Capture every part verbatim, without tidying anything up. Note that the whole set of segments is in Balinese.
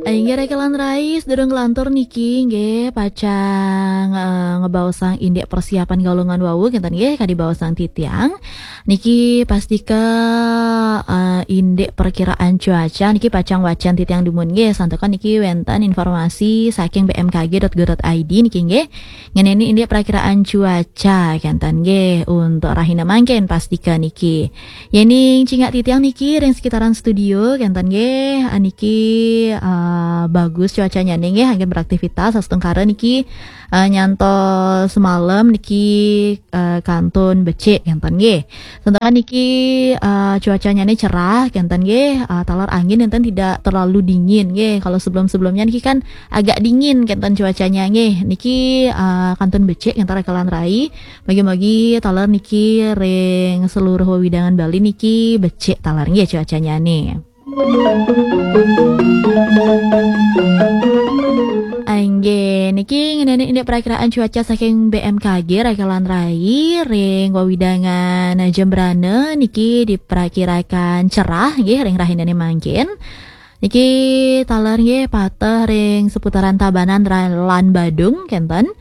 Inggih, Reke lan Rai, sedurung kelantur niki nggih pacang eh, ngebaosang indik persiapan galungan wau, kenten nggih, kadi baosang titiang. Niki pastika eh, indik perkiraan cuaca niki pacang wacan titiang dumun nggih, santukan niki wenten informasi saking B M K G dot go dot I D niki nggih. Ngeneni indik perakiraan cuaca kenten nggih untuk rahina mangkin pastika niki. Yening cingak titiang niki ring sekitaran studio kenten nggih, ah, niki ah, bagus cuacanya nggih, anggen beraktivitas astungkara niki ah, nyantos semalam niki ah, kantun becik kenten nggih. Santukan niki ah, cuacanya ni cerah kenten nggih, ah, taler angin enten tidak terlalu dingin nggih. Kalau sebelum-sebelumnya niki kan agak dingin kenten cuacanya nggih. Niki ah, kantun becik kenten Reke lan Rai. Mugi-mugi taler niki ring seluruh wewidangan Bali niki becik taler nggih cuacanya ni. Inggih, niki ngeneni indik perakiraan cuaca saking B M K G Reke lan Rai ring wewidangan Jembrana niki diperakirakan cerah nggih ring rahinane mangkin. Niki taler nggih pateh ring seputaran Tabanan ra- lan Badung kenten.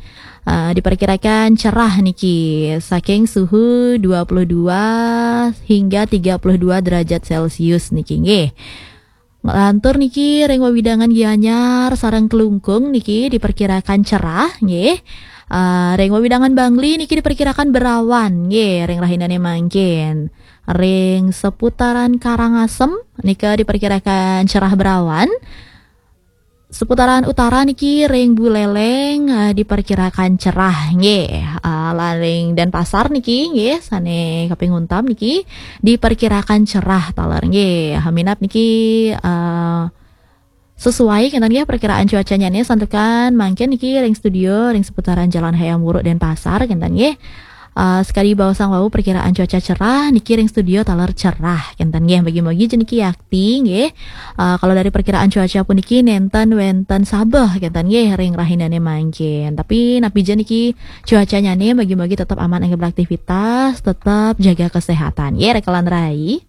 Ah, diperkirakan cerah niki saking suhu dua puluh dua hingga tiga puluh dua derajat Celcius niki nggih. Lantur niki ring wewidangan Gianyar sareng Klungkung niki diperkirakan cerah nggih. Ah, ring wewidangan Bangli niki diperkirakan berawan nggih ring rahinane mangkin. Ring seputaran Karangasem nika diperkirakan cerah berawan. Seputaran utara niki ring Buleleng eh, diperkirakan cerah nggih. Eh, lan ring Denpasar niki nggih sane kaping untam niki diperkirakan cerah taler nggih. Minab niki eh, sesuai kenten nggih perkiraan cuacanya nih, santukan mangkin niki ring studio ring seputaran Jalan Hayam Wuruk Denpasar kenten nggih. Eh, sekadi baosang wau perkiraan cuaca cerah niki ring studio taler cerah kenten nggih. Mugi-mugi ja niki yakti nggih. Eh, kalau dari perkiraan cuaca puniki nenten wenten sabeh kenten nggih ring rahinane mangkin. Tapi napi ja niki cuacanya nih, mugi-mugi tetap aman anggen beraktivitas, tetap jaga kesehatan. Ya, Reke lan Rai.